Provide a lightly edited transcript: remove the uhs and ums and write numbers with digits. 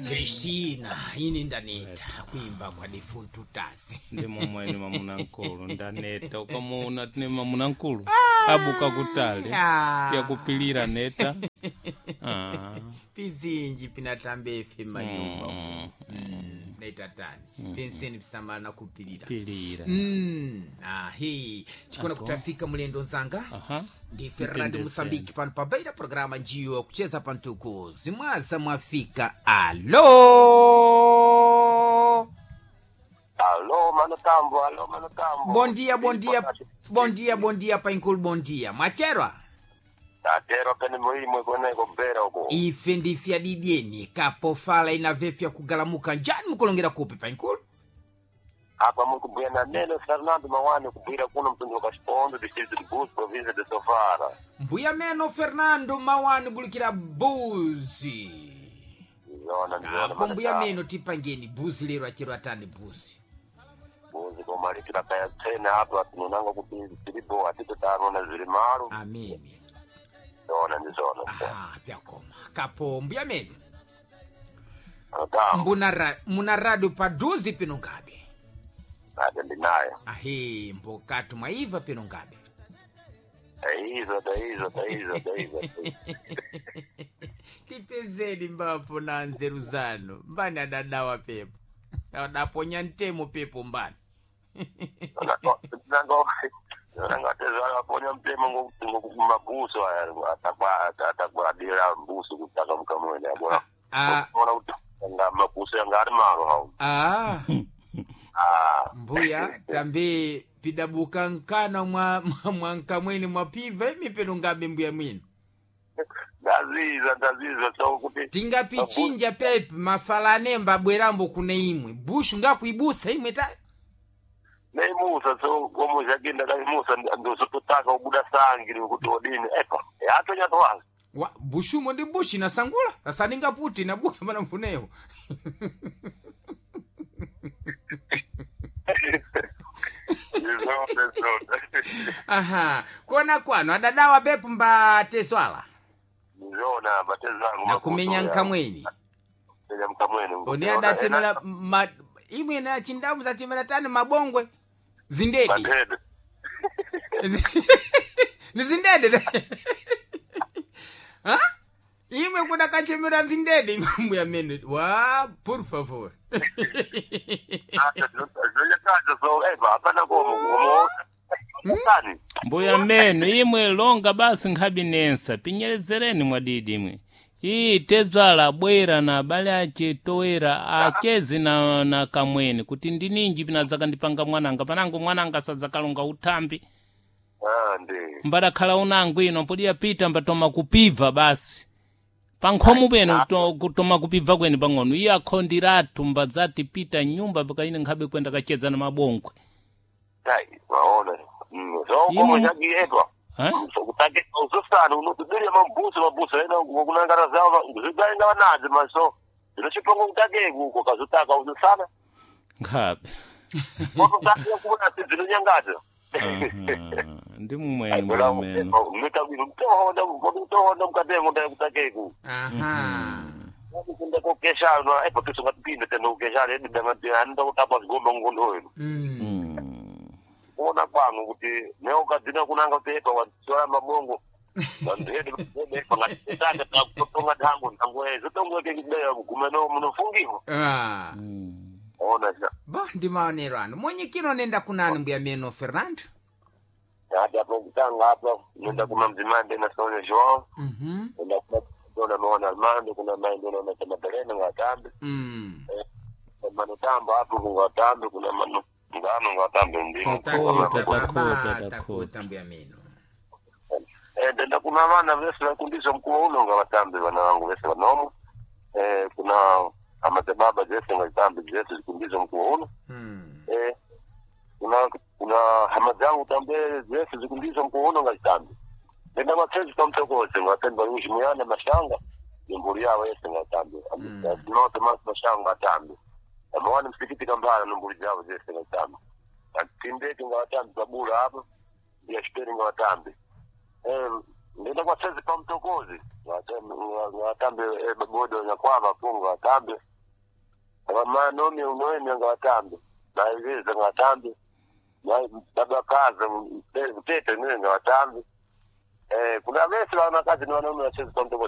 Cristina ini ndaneta kuimba kwa defuntu tasi Ndi momweni mamuna nkulu ndaneta ukamuona tine mamuna nkulu abuka kutali Ah. pyakupilira neta. Ah. Pizinji pinatambe ife manyumba naitatani penseni pisamala na kupilira. Pilira. Ahi tikona kutafika mulendo nzanga. Aha. Ndi Fernando Mtendeseni. Mosambiki pano pabaira programa njiyo kucheza pantuku zimwaza mwafika. Alo. Alô, mano Tambo, alô, mano Tambo. Bom dia, bom dia, bom dia, bom dia painkulu, bom dia mwacherwa. Tatero pene muimwe kweneko kubera uko. Ife ndife adidyeni kapofala inavefya kugalamuka njani mukulongera kupi painkulu? Apa mukubwera na neno Fernando Mawani kubwira kuno mtundu wa Kashipondo, distrito de Búzios, província de Sofara. Mbuya meno Fernando Mawani bulikira buzi. Zona ndizona Apo mano mbuya Tambo. meno tipangeni buzi lero achero atani buzi. Buzi koma litira kaya tena apa tinonanga kuti tiripo atito tarona zviri malo. Ameni. Zona ndizona. Aha, vyakoma kapo mbuya meno. Mano Tambo, Muna radio paduzi pino ngabe? ate ndinayo. Ahe, mbokatu mwaiva pino ngabe? Taizo, taizo, taizo, taizo. Tipezeni mbapo na nzeru zanu mbani adadawa pepo adaponya ntemo pepo mbani. Nangatezvakaponya mutemo ngokumabuso aya atakwadira mbuso kutaka mukamwene abona. Ah. Ona kuti nga mabuso yanga ari maro hawo. Ah, Ah, mbuya tambe pidabuka nkana mwa nkamweni mwapiva imi peno ngabe mbuya mwino. Ndaziza ndaziza so kuti Tingapichinja pepe mafalane mbabwerambo kune imwe bushu ngakuibusa imwe ta. Neimusa so komo zvagenda kaimusa ndozototaka kubuda sangi kuti odini epa yatonyatwaza. Wa, bushumo ndi bushi nasangula asaningaputi nabuka mana mfunewo. Ndizona ndizona. Aha, kona kwano adadawa pepo mbateswala Ndizona batezangu. nakumenya nkamweni. Kumenya mkamweni. One adatemera imwe na chindamu zachemera tani mabongwe zindedi. Matede. Ni zindede ha imwe kuda kachemera zindede mbuya mene wa por favor. Zvonyakaza so epa hapana komo komo. Mbuya meno imwe longa basi nkhabi nensa pinyerezereni mwadidi imwe iyi tezwala bwera na abale ace toera achezi na kamweni kuti ndininji pinazakandipanga mwananga panango mwananga sadzakalonga uthambi. Ah, ndi. Mbadakhala unango ino podiya pita mbatoma kupibva basi pankhomo peno kutoma kupibva kweni pang'ono iye akhondiratu mbadzati pita nyumba pakaine nkhabe kwenda kacheza na mabongwe. Tai, waona. So komo Imo- chakietwa. Eh? So kutake uzosana unotibirira mabuso mabuso ena kunangara zavo zvigainga vanadzo maso. Zvinochipongo kutake uko kazotaka uzosana. Nkhabe. Wakutake kuona dzinonyangadza. Aha, ndi mumweni mbuya meno. Mitohonda mitohonda mukatemo ndakutake ku. Aha. Kunda kokeshana epa tisingapinde tena ukeshana edidangati kutapa zigomba ngondoyo. Kuona kwangu kuti neukadzina kunanga kuti epa watora mabongo vandueduepa ngatitange takutonga ntango ntango zotongweke kudera kuguma no munofungiwa. Ah. Ona sha. Bo ndi maonero anu mwenyekiro nenda kunani mbuya meno Fernando? Ati apo kutanga apa nenda kuna mdzimai ndena Sonia Joao. Nenda kuna dona Maona Armando, kuna mai ndona na Magdalena ngatambe. Mano tambo apo kungatambe kuna mano ngano ngatambe ndimo. Takota, takota, Takota takota. mbuya meno. Ndenda kuna vana vese vakundiswa mkuu uno ngavatambe vana vangu vese vanomo. Kuna amadzibaba dzese ngazitambe dzese zikundiswa mkuu uno. Kuna hama dzangu tambe dzese zikundiswa mkuu uno ngazitambe. Ndenda kwatezi pamtokoze ngatemba lushimuyana mashanga nemburi yavo yese ngatambe. Note masi mashanga atambe. Amawani msikiti kambala nemburi dzavo dzese ngatambe. Atindeti ngavatambe pabula apa ndiyachiperi ngawatambe. Ndenda kwatezi pamtokozi ngatambe bagodo nyakwava po ngatambe. Manomi unoemi ngawatambe. Maeleza ngawatambe. Baba kaza mtete niwe ngawatambe. Kuna vese wana kazi ni wanaume wachezi kwa mtoko.